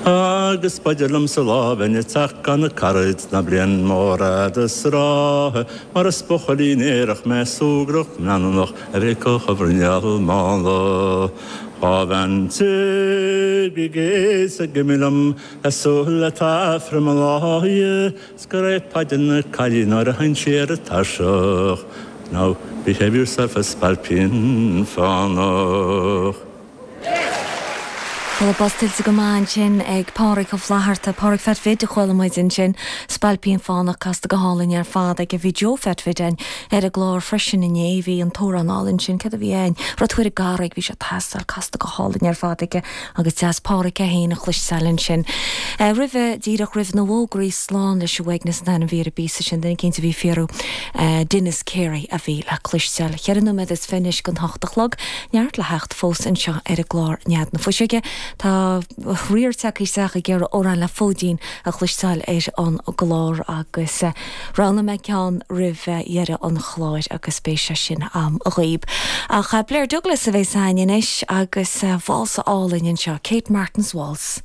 Agus b'fhaidir liomsa lá a bheinn ag teacht gan na caraid ná bliain mór fhada 's ráithe mar is buachaillín aerach mé súgrach leanúnach a bhéiceadh a bhruinneall mánla. Dhá bheinn ag is ag imigh liom ag súil le taifreann mo láidhe 's go raibh Paidí na caillí nuair a sheinn sí ar an tairseach Now behave yourself a spailpín fánach. Bhuel, buzz tuillte go maith ansin ag Pádhraic Ó Flatharta. Pádhraic Pheait Bhid a chuala muid ansin. Spailpín Fánach casta go hálainn ar fad aige. Bhí Joe Pheait Bhid againn ar an gclár freisin inné. Bhí an t-amhrán álainn sin, céard a bhí ann? Rud Thuar i gCarraig, bhí sé ag teastáil, casta go hálainn ar fad aige agus deas Pádhraic é féin a chloisteáil ansin. Roimhe, díreach roimh na bhfógraí, Slán leis an uaigneas an t-ainm a bhí ar an bpíosa sin, duine eicínt a bhí ag fiafraí, Denis Carey a bhí le cloisteáil. Cheithre nóiméad is fiche anois don hocht a chlog. Neart le theacht fós anseo ar an gclár Nead na Fuiseoige. Tá riar tagtha isteach ag iarraidh amhrán le Fóidín a chloisteáil ar an gclár agus roghnóidh mé ceann roimh dheireadh an chláir agus beidh sé sin a'm dhaoib. Ach Blair Douglas a bheas a'ainn anois agus válsa álainn anseo, Kate Martin's Waltz.